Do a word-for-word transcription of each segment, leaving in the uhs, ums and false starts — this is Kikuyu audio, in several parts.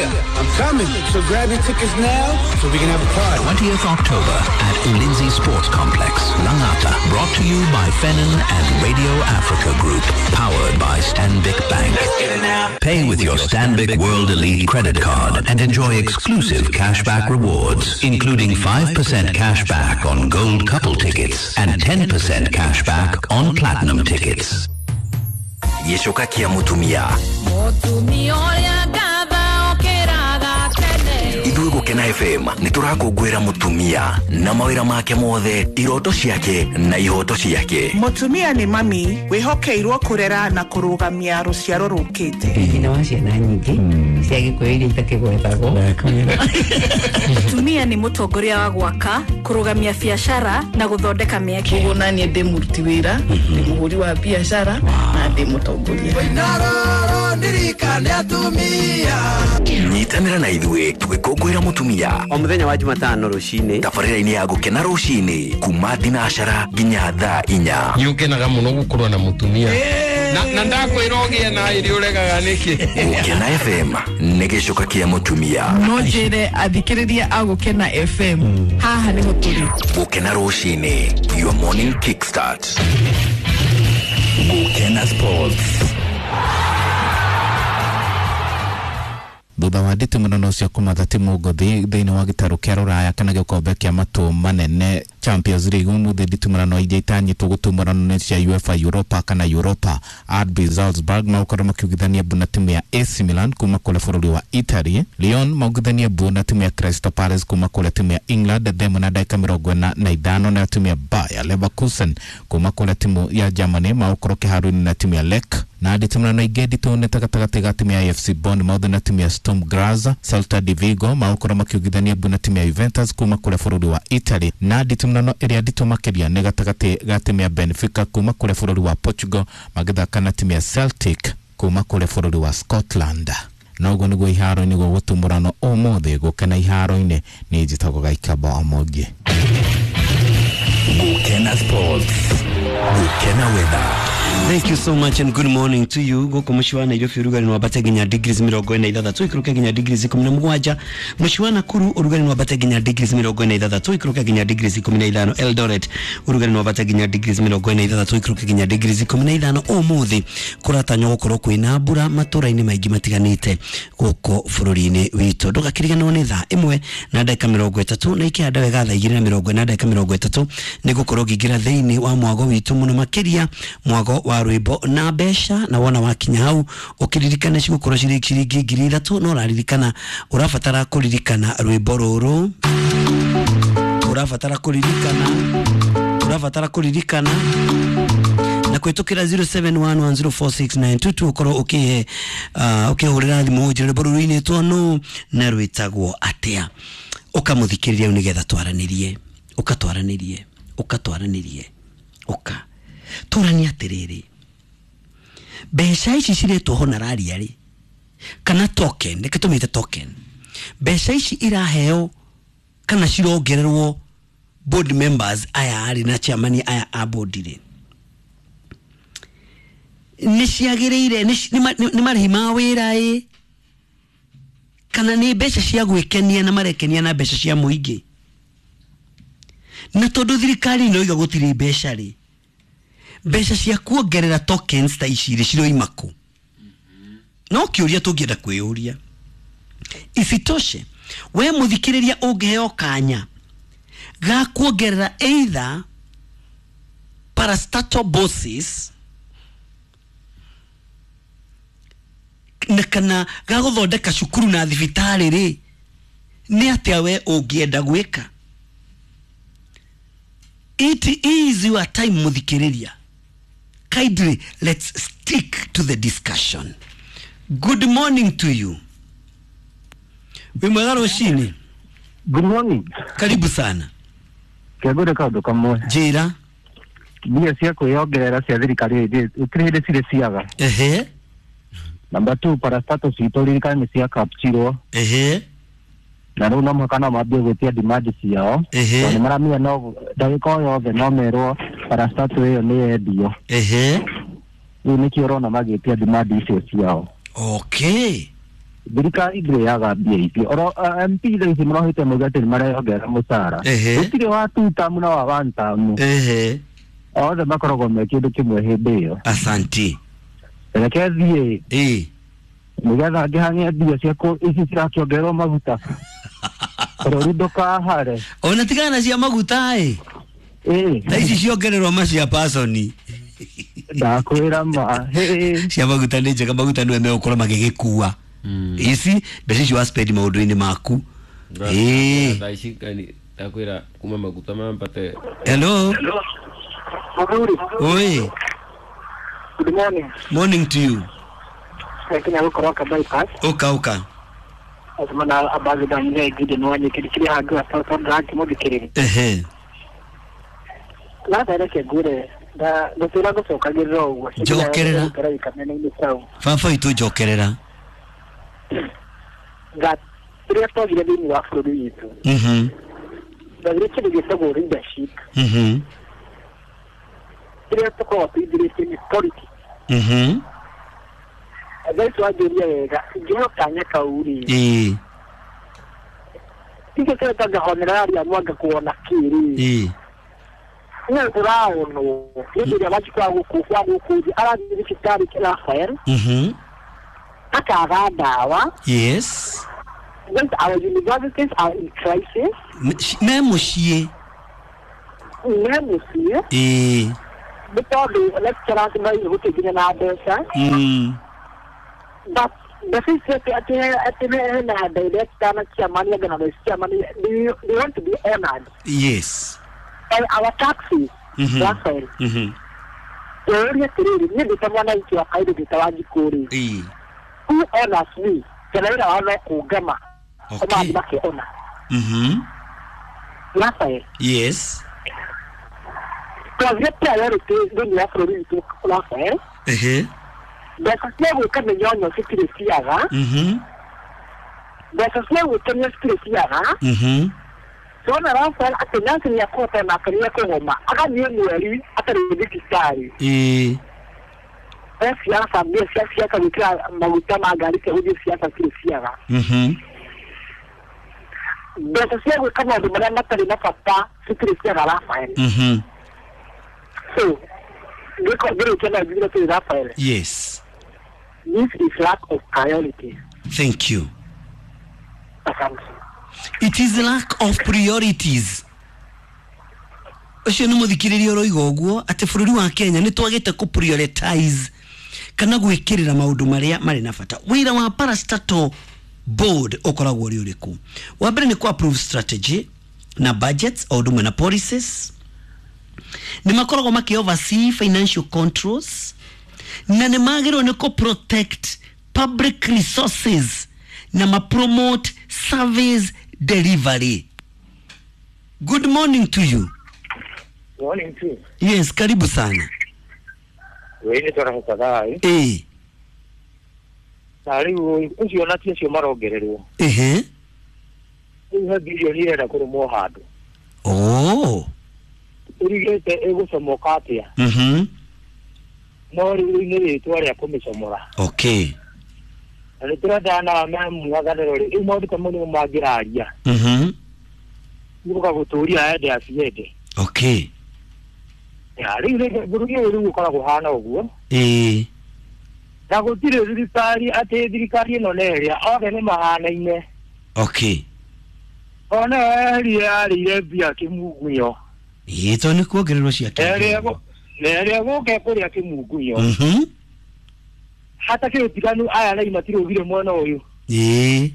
here. I'm coming. So grab your tickets now so we can have a party. twentieth October at Ulinzi Sports Complex, Langata. Brought to you by Fenin and Radio Africa Group. Powered by Stanbic Bank. Pay with your Stanbic World Elite credit card and enjoy exclusive cashback rewards, including five percent cashback on gold couple tickets and ten percent cashback on platinum tickets. Gĩcoka kĩa mũtumia. Mũtumia ũrĩa ngatha okĩraga tene. Ithuĩ Gũkena F M nĩ tũrakũngũĩra mũtumia na mawĩra make mothe, iroto ciake na ihoto ciake. Mũtumia nĩ mami wĩhokeirwo kũrera na kũrũgamia rũciaro rũkĩte. Nyina wa ciana nyingĩ cia Gĩkũyũ iria itakĩgwetagwo. Mũtumia nĩ mũtongoria wa gwaka, kũrũgamia biacara na gũthondeka mĩeke. Koguo naniĩ ndĩ mũruti wĩra, ndĩ mũhũri wa biacara na ndĩ mũtongoria. Nyitanĩra na ithuĩ tũgĩkũngũĩra mũtumia o mũthenya wa Jumatano rũcinĩ, tabarĩra-inĩ ya Gũkena rũcinĩ kuma thinacara nginya thaa inya. Nĩ ũkenaga mũno gũkorwo na mũtumia na, na ndakwĩra ũgĩe na ĩrĩ ũregaga nĩkĩ. Gũkena F M nĩ gĩcoka kĩa mũtumia. No njĩre athikĩrĩria a Gũkena F M haha nĩho tũrĩ. Gũkena rũcinĩ, your morning kickstart. Gũkena Sports. Thutha wa nditimũrano cia kũmatha timu ngũthi thĩinĩ wa gĩtarũ kĩa rũraya kana gĩkombe kĩa matũ manene Champions League ũmũthĩ nditimũrano iria itanyĩtwo gũtumũrano nĩ cia UEFA Europa kana Europa. R B Salzburg magũkorwo makiugithania mbu na timu ya A C Milan kuma kũrĩa bũrũri wa Italy. Lyon maugithania mbu na timu ya Crystal Palace kuma kũrĩa timu ya England themo na ndagĩka mĩrongo ĩna na ithano, nayo timu ya Bayer Leverkusen kuma kũrĩa timu ya Germany magũkorwo kĩharo-inĩ na timu ya Lech. Na nditimũrano ingĩ nditũ nĩ ta gatagatĩ ga timu ya A F C Bournemouth na timu ya Sturm Graz. Celta de Vigo magũkorwo makiugithania mbu na timu ya Juventus kuma kũrĩa bũrũri wa Italy. Na nditimũrano ĩrĩa nditũ makĩria nĩ gatagatĩ ga timu ya Benfica kuma kũrĩa bũrũri wa Portugal magĩthaka na timu ya Celtic kuma kũrĩa bũrũri wa Scotland. Na ũguo nĩguo iharo-inĩ gũgũtumũrano ũmũthĩ. Gũkena iharo-inĩ nĩ njĩtagwo Gaikaba Omogi. Gũkena Sports. Gũkena Weather. Thank you so much and good morning to you. Goko mũciĩ wa Nairobi ũrugarĩ nĩwambate nginya degrees mĩrongo ĩna ithathatũ ikũrũke nginya degrees ikũmi na mũgwanja. Mũciĩ wa Nakuru ũrugarĩ nĩwambate nginya degrees mĩrongo ĩna ithathatũ ikũrũke nginya degrees ikũmi na ithano. Eldoret ũrugarĩ nĩwambate nginya degrees mĩrongo ĩna ithathatũ ikũrũke nginya degrees ikũmi na ithano. Ũmũthĩ kũratanywo gũkorwo kwĩna mbura matũra-inĩ maingĩ matiganĩte gũkũ bũrũri-inĩ witũ. Ndũgakĩriganĩrwo nĩ thaa ĩmwe na ndagĩka mĩrongo ĩtatũ na ikĩhanda wega thaa igĩrĩ na mĩrongo ĩna ndagĩka mĩrongo ĩtatũ nĩ gũkorwo ngĩingĩra thĩinĩ wa mwago witũ mũno makĩria mwago wa rwĩmbo na mbeca. Na wona wakinya hau ũkĩririkana cigũkorwo cirĩ ciringi ngiri ithatũ, no ũraririkana ũrabatara kũririkana rwĩmbo rũrũ, ũrabatara kũririkana ũrabatara kũririkana na kũhĩtũkĩra zero seven one one zero four six nine two two ũkorwo ũkĩhe uh, ũkĩhũrĩra thimũ ũnjĩre rwĩmbo rũrũ rũinĩtwo nũ na rwĩtagwo atĩa, ũkamũthikĩrĩria nĩgetha twaranĩrie ũkatwaranĩrie ũkatwaranĩrie ũka tũranie atĩrĩrĩ, mbeca ici ciretwo honoraria rĩ kana token, reke tũmĩte token, mbeca ici iraheo kana cirongererwo board members aya rĩ na chairman aya a board rĩ nĩ ciagĩrĩire, nĩ marĩhi ma wĩra ĩ kana nĩ mbeca cia gwĩkenia na marekenia na mbeca cia mũingĩ? Na tondũ thirikari no iga gũtirĩ mbeca rĩ, mbeca cia kuongerera tokens ta ici rĩ ciroima kũ? No kĩũria tũngĩenda kwĩyũria. Isitoshe we mũthikĩrĩria ũngĩheo kanya ga kuongerera either parastatal bosses na kana ga gũthondeka cukuru na thibitarĩ rĩ, nĩ atĩa we ũngĩenda gwĩka? It is your time mũthikĩrĩria. Kindly, let's stick to the discussion. Good morning to you. Wĩ mwega rũcinĩ? Good morning. Karibu sana. Kĩangũre kaũndũ kamwe. Njĩra. Mbia cia kwĩyongerera cia thirikari gũtirĩ hĩndĩ cirĩ ciaga. Ehe. Number two, parastatal citũ ririkana nĩ cia capturewo. Ehe. Na rĩu no mũhaka no mambie gwĩtia demand ciao. Ehe. Tondũ nĩmaramenya no ndagĩka o yothe no merwo parastatal ĩyo nĩ yendio. Ehe. Rĩu nĩkĩo ũrona magĩtia demand icio ciao. Okay. Thirikari ndĩrĩaga mbia icio. Oro uh, M P thaa ici marohĩte mauga atĩ nĩmareyongerera mũcara. Ehe. Gũtirĩ wa two term na wa one term. Ehe. Othe makoragwo me kĩndũ kĩmwe hĩndĩ ĩyo. Asanti. Reke thiĩ. Ĩĩ. Nĩgetha ngĩhang'e mbia ciakwa ici cirakĩongererwo maguta. Bũrũri ndũkahare. Ona tigana na cia maguta ĩ. Ĩĩ. Thaa ici ciongererwo macia pasoni. Ndakwĩra ma. Hĩ. Cia maguta nĩ njega, maguta nĩwe megũkorwo magĩgĩkua. Ici mbeca icio wa spend maũndũ-inĩ maku. Ĩĩ. Thaa ici kani ndakwĩra kuma maguta mambate. Hello. Mũthuri. Oi. Good morning. Morning to you. Kenya gũkorwo ka bypass. Ũka ũka. Atumana abazi mzee Gideon Wanyeki kiri handu atoto ndakĩmũthikĩrĩria. Ehe. Latha reke ngwĩre nda gũtũra gũcokagĩrĩra ũguo. Njokerera. Baba witũ njokerera. That rĩrĩa twagire thĩinĩ wa bũrũri witũ. Mhm. Twagire kĩndũ gĩtagwo leadership. Mhm. Rĩrĩa tũkoragwo tũithirĩtie nĩ politics. Mhm. Thaa ici wanjũria wega ingĩheo kanya kau rĩ. Ĩĩ. Tikĩ kĩrĩa honorari mwanga kuona kĩ rĩ. Ĩĩ. Nĩ tũraonwo hĩndĩ ĩrĩa Wanjikũ wa gũkũ wa gũkũ thĩ arathiĩ thibitarĩ Raphael. Mhm. Akaga ndawa. Yes. When our universities are in crisis. Me mũciĩ. Me mũciĩ. Ĩĩ. Nĩ tondũ lecturers marĩ gũtirĩ nginya na mbeca. Mm. But the thing is that at na director na chairman na vice chairman, they, they want to be honored. Yes. And our taxes. Mhm. Raphael. Mhm. Ũria atĩrĩrĩ, niĩ ndĩ ta mwananchi wa kawaida ndĩ ta Wanjikũ rĩ. Ĩĩ. Who honors me? Kana wĩra wao no kũngama. Okay. Mathiĩ makĩona. Mhm. Raphael. Yes. Twagire priority thĩinĩ wa bũrũri witũ Raphael. Ehe. Mbeca cia gwĩka mĩnyonyo citirĩ ciaga. Mhm. Mbeca cia gwĩkenia citirĩ ciaga. Mhm. Tuona Raphael atĩ nurse nĩekũhota nake nĩekũgoma agathiĩ mweri atarĩ thibitarĩ. Ĩĩ. He ciaca mbia cia ciaca gwĩkĩra maguta ma ngari cia gũthiĩ ciaca citirĩ ciaga. Mhm. Mbeca cia gwĩka maũndũ marĩa matarĩ na bata citirĩ ciaga Raphael. Mhm. So ngĩko ngĩrĩkia na njugire atĩrĩ Raphael. Yes. This is lack of priority. Thank you. Asante. It is lack of priorities. Ũcio nĩ mũthikĩrĩria ũroiga ũguo atĩ bũrũri wa Kenya nĩ twagĩte kũ prioritize kana gwĩkĩrĩra maũndũ marĩa marĩ na bata. Wĩra wa parastatal board ũkoragwo ũrĩ ũrĩkũ? Wa mbere nĩ kũ approve strategy na budgets o ũndũ ũmwe na policies. Nĩ makoragwo makĩ oversee financial controls na nĩ magĩrĩirwo nĩ kũ protect public resources na ma promote service delivery. Good morning to you. Morning to you. Yes, karibu sana. Wewe ni tora kadhaa. Eh. Na rĩu ũcio na ti acio marongererwo. Ehe. Rĩu he bilioni ĩrenda kũrũmwo handũ. Oh. Ũrigĩte ĩgũcomoka atĩa? Mhm. No rĩu nĩ rĩtwa rĩa kũmĩcomora. Okay. Na nĩ tũrenda na mũng'ethanĩro rĩ, rĩu maũndũ ta mau nĩmo mangĩraria. Mhm. Nĩgũka gũtũria ende aciende. Okay. Ya rĩu rĩ bũrũri ũyũ rĩu ũkoragwo ũhana ũguo. Ĩĩ. Na gũtirĩ thirikari atĩ thirikari ĩno na ĩrĩa othe nĩ mahanaine. Okay. Ona ĩrĩa yarĩire mbia kĩmungunyo. Ĩĩ to nĩ kuongererwo cia kĩmungunyo. Na ĩrĩa gũka kũrĩa kĩmungunyo. Mhm. Hatakĩrĩ ũtiganu aya nai matirũgire mwena ũyũ. Ĩĩ.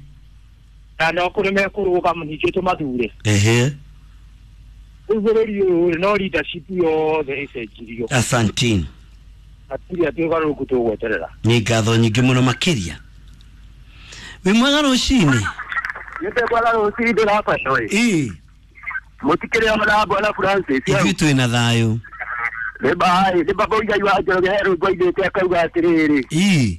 Na no kũrĩ mekũrũgama ningĩ tũmathure. Ehe. Rĩu bũrũri ũyũ no leadership yothe ĩcenjirio. Asanteni. Hatirĩ atĩ ũgarũrũku tũgweterera. Nĩ ngatho nyingĩ mũno makĩria. Wĩ mwega rũcinĩ? Nĩ mwega rũcinĩ ndĩrabatwo. Ĩĩ. Mũtikĩrĩ ona bwana Francis. Ithuĩ twĩna thayũ. Nĩ bahari nĩ baba ũigai wa Njoroge he rwĩmbo ainĩte akauga atĩrĩrĩ. Ĩĩ.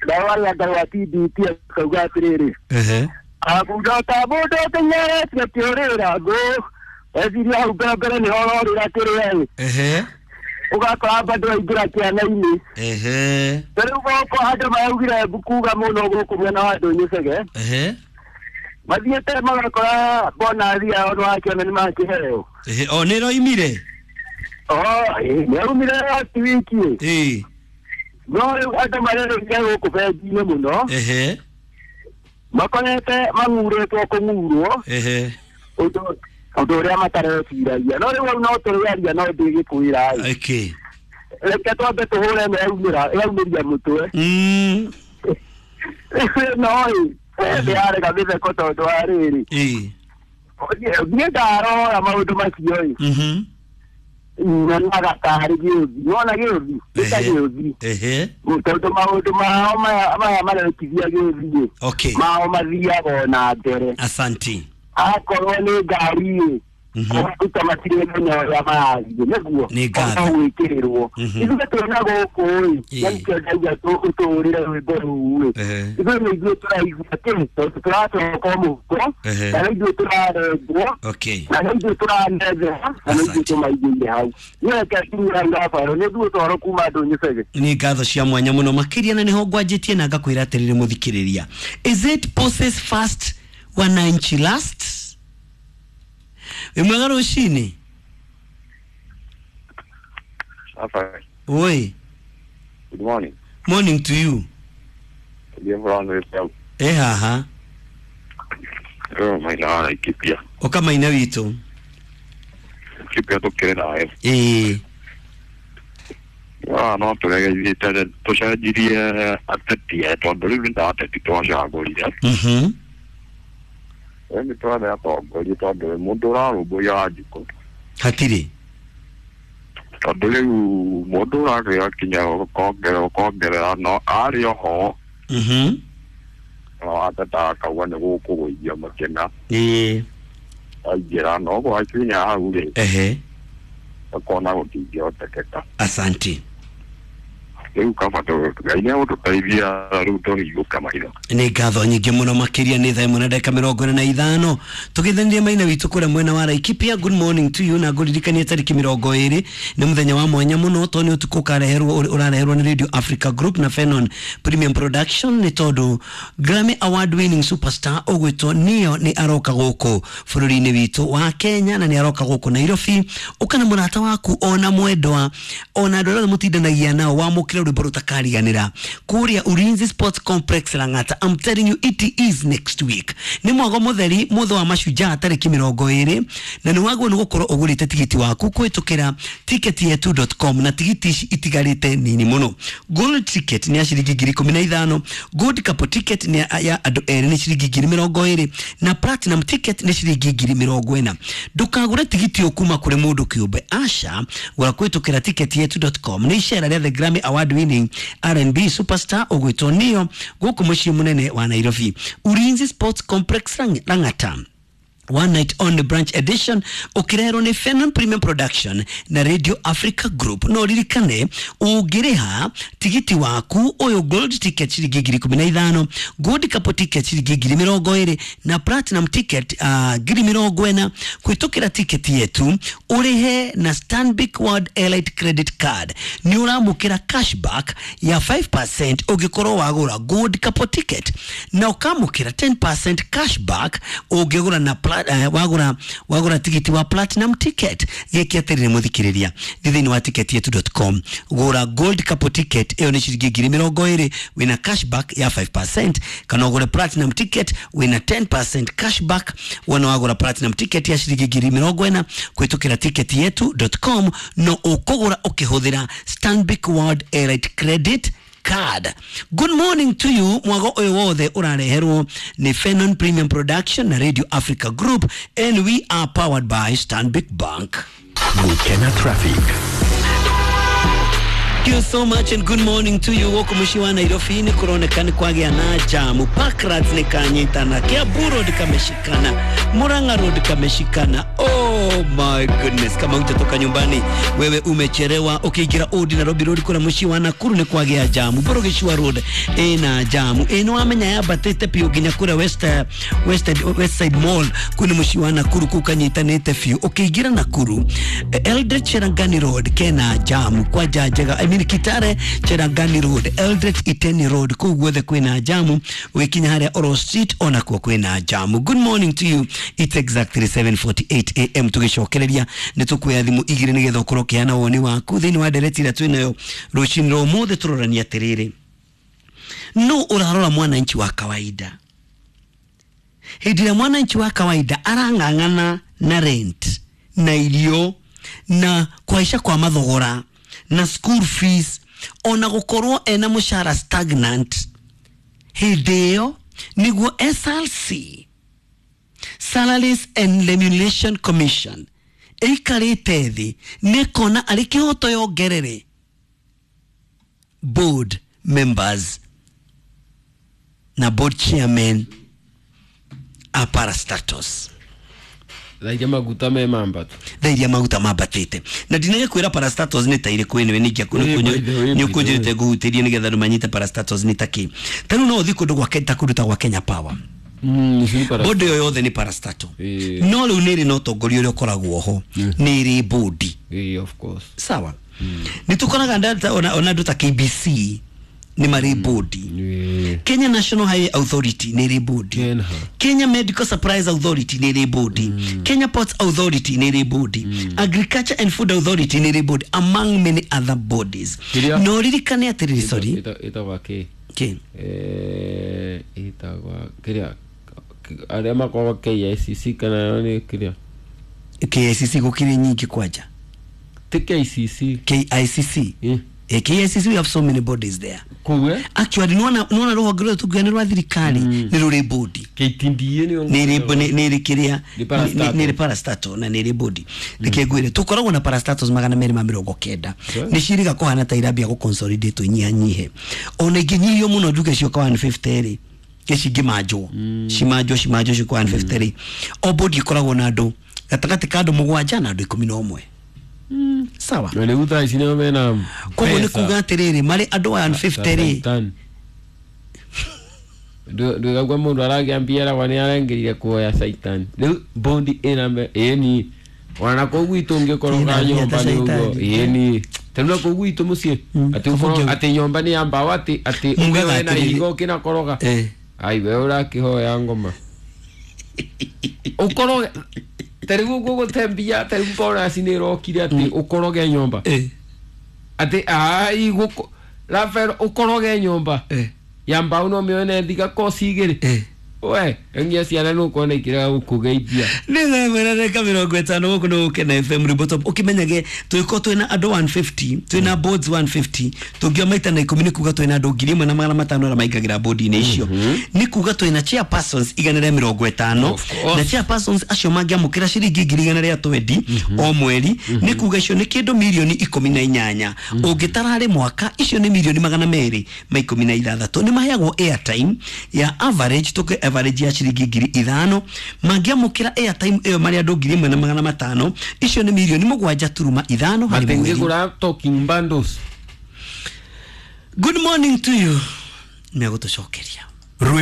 Nao arĩa Ngai wa T D T akauga atĩrĩrĩ. Ehe. Akauga ta mũndũ ũteng'eretie kĩũrĩra ngũ. Eciria hau mbere mbere nĩho ũrorĩra kĩrĩa. Ehe. Ũgakora bado aingĩra kĩana-inĩ. Ehe. Rĩu gũkũ andũ maraugire kuga mũno gũkũ mwena wa Ndũnyũ-Cege. Ehe. Mathiĩte magakora bonathi yao nĩwakĩona nĩmakĩheo. Ehe, o nĩroimire? O, nĩraumire last week. Ĩĩ. No rĩu andũ marerũria gũkũ bengi-inĩ mũno. Ehe. Makorete mang'urĩtwo kũng'urwo. Ehe. Ũndũ ũndũ ũrĩa matareciragia. No rĩu no tũrĩaria no ndĩgĩkwĩra ĩ. Okay. Reke twambe tũhũre ĩno yaumĩra yaumĩria mũtwe. Mm. No ĩ ndĩrarega mĩtheko tondũ wa rĩrĩ. Ĩĩ. Niĩ ndarora maũndũ macio ĩ. Mhm. Nyonaga tarĩ gĩũthi. Wona gĩũthi? Nĩ ta gĩũthi. Ehe. Tondũ maũndũ mao maya maya marekithia gĩũthi ĩ. Okay. Mao mathiaga ona mbere. Asanti. Akorwo nĩ ngari ĩ. Kũruta matirĩ menya ũrĩa marathiĩ nĩguo Nĩ ngatho. gwĩkĩrĩrwo. Ithuĩ twĩna gũkũ ĩ, na nĩkĩo ndauga tũhũrĩre rwĩmbo rũu ĩ. Ithuĩ nĩ ithuĩ tũraigua kĩ tondũ tũracoka mũhuko, na nĩ ithuĩ tũrarengwo, Okay. na nĩ ithuĩ tũranethera, na nĩ ithuĩ tũmaigĩire hau. Niĩ reke nginyĩre hau Rafael, nĩ ithuĩ toro kuma Ndũnyũ-Cege. Nĩ ngatho cia mwanya mũno makĩria na nĩho ngwanjĩtie na ngakwĩra atĩrĩrĩ mũthikĩrĩria. Is it process first wananchi last? Wĩ mwega rũcinĩ? Rafael. Oi. Good morning. Morning to you. Eh haha. Oh my God, Laikipia. Oka maina witũ. Laikipia tũkĩrĩ nawe. Ĩĩ. Ah, no tũregeithĩte tũcenjirie ateti tondũ rĩu nĩ ta ateti twacagũrire. Mhm. Nĩ twethe atongoria tondũ mũndũ ũrarũmbũiya Wanjikũ. Hatirĩ. Tondũ rĩu mũndũ ũragĩa kinya ũkongerera ũkongerera no arĩ oho. Mhm. No ateta akauga nĩ gũkũgũithia makĩna. Ĩĩ. Aingĩra no gwakinya hau rĩ. Ehe. Akona gũtingĩhotekeka. Asante. Rĩu kaba Ngai nĩ egũtũteithia rĩu tũhingũke maitho. Nĩ ngatho nyingĩ mũno makĩria nĩ thaa ĩmwe na ndagĩka mĩrongo ĩna na ithano tũgĩthanirie maina witũ kũrĩa mwena wa Laikipia. Good morning to you na ngũririkanie tarĩki mĩrongo ĩrĩ nĩ mũthenya wa mwanya mũno tondũ nĩ ũtukũ ũkareherwo ũrareherwo nĩ Radio Africa Group na Fenon Premium Production nĩ tondũ Grammy Award winning superstar ũgwĩtwo Neo nĩ aroka gũkũ bũrũri-inĩ witũ wa Kenya na nĩ aroka gũkũ Nairobi. Ũka na mũrata waku ona mwendwa ona andũ arĩa mũtindanagia nao wamũkĩre rwĩmbo rũtakariganĩra kũrĩa Ulinzi Sports Complex Lang'ata. I'm telling you it is next week. Nĩ mwago mũtheri mũthĩ wa mashujaa tarĩki mĩrongo ĩrĩ na nĩ wagwo nĩ gũkorwo ũgũrĩte tigiti waku kũhĩtũkĩra ticket yetu dot com na tigiti ici itigarĩte nini mũno. Gold ticket nĩ ya ciringi ngiri ikũmi na ithano, gold couple ticket nĩ ya andũ erĩ nĩ ciringi ngiri mĩrongo ĩrĩ na platinum ticket nĩ ciringi ngiri mĩrongo ĩna. Ndũkagũre tigiti ũyũ kuma kũrĩ mũndũ kĩũmbe, aca, gũra kũhĩtũkĩra ticket yetu dot com. Nĩ icera rĩa the Grammy Award winning R and B superstar ũgwĩtwo Neo gũkũ mũciĩ mũnene wa Nairobi, Ulinzi Sports Complex Lang'ata. One night on the branch edition ukirerwo ni Fenon Premium Production na Radio Africa Group. No ririkane ungiriha tigiti waku uyu gold ticket ciringi ngiri ikumi na ithano, gold couple ticket ciringi ngiri mirongo iri na platinum ticket uh, ngiri mirongo ena kwitukira ticket yetu urihe na Stanbic World Elite Credit Card ni uramukira cashback ya five percent ungikorwo wagura gold couple ticket na ukamukira ten percent cashback ungigura na Uh, wagura wagura tigiti wa platinum ticket. Giki atirire muthikiriria thini wa ticket yetu dot com gura gold couple ticket iyo ni ciringi ngiri mirongo iri wina cashback ya five percent, kana ugure platinum ticket wina ten percent cashback wana wagura platinum ticket ya ciringi ngiri mirongo ena kwitukira ticket yetu dot com no ukugura ukihuthira Stanbic World Elite Credit Card. Good morning to you. Mwago uyu wothe urareherwo ni Fenon Premium Production na Radio Africa Group, and we are powered by Stanbic Bank. Gukena traffic. Thank you so much and good morning to you. Woko mushi wa Nairobi ni kuronekana kwagĩa na jamu. Parklands ni kanyitana, Kiambu Road kameshikana, Murang'a Road kameshikana. Oh, Oh my goodness, kama hujatoka nyumbani wewe umechelewa. Ukiingira Old Nairobi Road kura muciĩ wa Nakuru nĩ kwagĩa jamu, Borogicua Road ĩna jamu ĩno wamenya yambatĩte biũ nginya kũrĩa West, West, West Side Mall kũu nĩ mũciĩ wa Nakuru kũu kanyitanĩte biũ. Ũkĩingĩra Nakuru Eldoret Cherangani Road kena jamu kwanja njega, I mean Kitale Cherangani Road, Eldoret Iteni Road kũu guothe kwĩna jamu. Ũgĩkinya harĩa Oro Street onakuo kwĩna jamu. Good morning to you, it's exactly seven forty-eight a m. Tũgĩcokereria nĩ tũkuoya thimũ igĩrĩ nĩgetha ũkorwo ũkĩheana woni waku thĩinĩ wa ndereti ĩrĩa twĩnayo rũcinĩ rwa ũmũthĩ. Tũrorania atĩrĩrĩ, no ũrarora mwananchi wa kawaida hĩndĩ ĩrĩa mwananchi wa kawaida arang'ang'ana na rent na irio na kũhaica kwa mathogora na school fees ona gũkorwo ena mũcara stagnant, hĩndĩ ĩyo nĩguo S R C, Salaries and Remuneration Commission, ĩikarĩte thĩ nĩkona arĩ kĩhoto yongerere board members na board chairman a parastatals. Thairia maguta me mambatu, thairia maguta mambatĩte na ndinagĩkwĩra parastatals nĩ ta irĩkũ ĩnĩwe nĩ ũkũnjĩrĩte ngũhutĩrie nĩgetha andũ manyite parastatals nĩ ta kĩ. Ta rĩu no ũthiĩ kũndũ gwa ta kũndũ ta gwa Kenya Power, bodi ĩyo yothe nĩ parastatal, no rĩu nĩ ĩrĩ na ũtongoria ũrĩa ũkoragwo ho, nĩ ĩrĩ bodi. Of course. Sawa, nĩ tũkoraga ona andũ ta K B C nĩ marĩ bodi, Kenya National Highway Authority nĩ ĩrĩ bodi, Kenya Medical Supplies Authority nĩ ĩrĩ bodi, Kenya Ports Authority nĩ ĩrĩ bodi, Agriculture and Food Authority nĩ ĩrĩ bodi, among many other bodies. No ririkane atĩrĩrĩ, sorry, ĩtagwa kĩ kĩ eh ĩtagwa kĩrĩa arĩa makoragwo K I C C kana nĩ kĩrĩa K I C C gũkĩrĩ nyingĩ kwanja ti K C C K I C C. Eh, K I C C we have so many bodies there. Kuwe? Actually nona nona rũhonge rũrĩa tũngiuga nĩ rwa thirikari nĩ rũrĩ bodi. K T D A nĩ nĩ nĩ nĩ kĩrĩa nĩ nĩ parastatal na nĩ rĩ bodi. Reke ngwĩre tũkoragwo na parastatals magana merĩ ma mĩrongo kenda. Nĩ ciĩrĩga kũhana ta irambia gũ consolidate nyihanyihe. Ona ingĩnyihio mũno njuge cioka one fifty rĩ cingĩmanjwo cimanjwo cimanjwo cioka one fifty rĩ o bodi ĩkoragwo na andũ gatagatĩ ka andũ mũgwanja na andũ ikũmi na ũmwe. Sawa. Na rĩu thaa ici nĩo mena koguo nĩ kuga atĩrĩrĩ marĩ andũ one fifty rĩ ndũigagua mũndũ aragiambia eragwa nĩ arengĩrire kuoya Saitan rĩu bondi ĩna ĩni ona kũu gwitũ ũngĩkoroga nyũmba nĩ ũguo ĩni tarĩu na kũu gwitũ mũciĩ atĩ ũkorwo atĩ nyũmba nĩ ya mbaũ atĩ atĩ ũngĩoya na ihiga ũkĩnakoroga ai we ũrakĩhoya ngoma ũkoroge tarĩu ũguo gũtembia tarĩu bonus nĩ ĩrokire atĩ ũkoroge nyũmba atĩ ai gũkũ Rafael ũkoroge nyũmba ya mbaũ no mĩone thiga koci igĩrĩ we ngia ciana nĩ ũkuona ikĩrega gũkũgeithia nĩ thaa ĩmwe na ndagĩka mĩrongo ĩtano gũkũ nĩ Gũkena F M Rwĩmbo Top. Ũkĩmenyage tũgĩkorwo twĩna andũ one fifty twĩna boards one fifty tũngiuga maita na ikũmi nĩ kuga twĩna andũ ngiri ĩmwe na magana matano arĩa maingagĩra bodi-inĩ icio, nĩ kuga twĩna chairpersons igana rĩa mĩrongo ĩtano na chairpersons acio mangĩamũkĩra ciringi ngiri igana rĩa twendi o mweri nĩ kuga icio nĩ kĩndũ mirioni ikũmi na inyanya ũngĩtara harĩ mwaka icio nĩ mirioni magana merĩ ma ikũmi na ithathatũ. Nĩ maheagwo airtime ya average tũkĩ average ya ciringi ngiri ithano mangĩamũkĩra airtime ĩyo marĩ andũ ngiri ĩmwe na magana matano icio nĩ mirioni mũgwanja turuma ithano harĩ mweri. Matingĩgũra talking bundles. Good morning to you. Nĩegũtũcokeria. Rwĩmbo